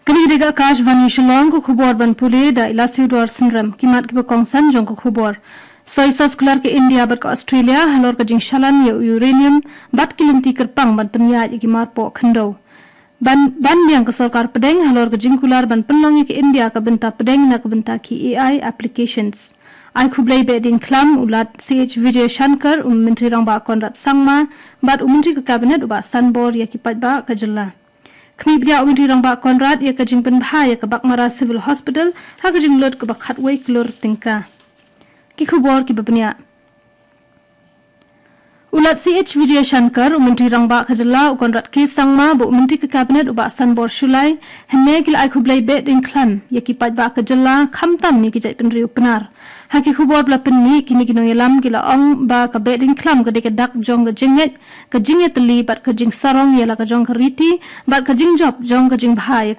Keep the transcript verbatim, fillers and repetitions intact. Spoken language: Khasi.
Kane ka dei ka Akashvani Shillong, ka khubor ban pule da i Lasiu Dor Synrem. Ki mat kiba kongsan jong ka khubor. Soy sos kular ka India bad ka Australia halor ka jingshalan ïa u uranium bad ki lynti kyrpang ban pynïaid ïa ki marpoh khyndew. Ban, ban biang ka sorkar pdeng halor ka jingkular ban pynlong ïa ka India ka bynta pdeng na ka bynta ki A I applications. Ai khublei behdeiñkhlam u Lat C H Vijayashankar, u Myntri Rangbah Conrad Sangma bad u Myntri ka Cabinet u Bah Sanbor ïa ki paidbah ka jylla. Khmih bniah u Myntri Rangbah Conrad ïa ka jingpynbha ïa ka Baghmara Civil Hospital ha ka jinglut kaba khatwei klur tyngka. Ki khubor kiba bniah. U Lat C H Vijayashankar, u Myntri Rangbah ka jylla u Conrad K Sangma bad u Myntri ka Cabinet u Bah Sanbor Shullai, hynne ki la ai khublei behdeiñkhlam ïa ki paidbah ka jylla, khamtam ïa ki jaitbynriew Pnar. Ha ki khubor ba la pynmih, kine ki nongïalam ki la ong ba ka behdeiñkhlam ka dei ka dak jong ka jingngeit, ka jingïatylli bad ka jingsarong ïa la ka jong ka riti bad ka jingjop jong ka jingbha ïa ka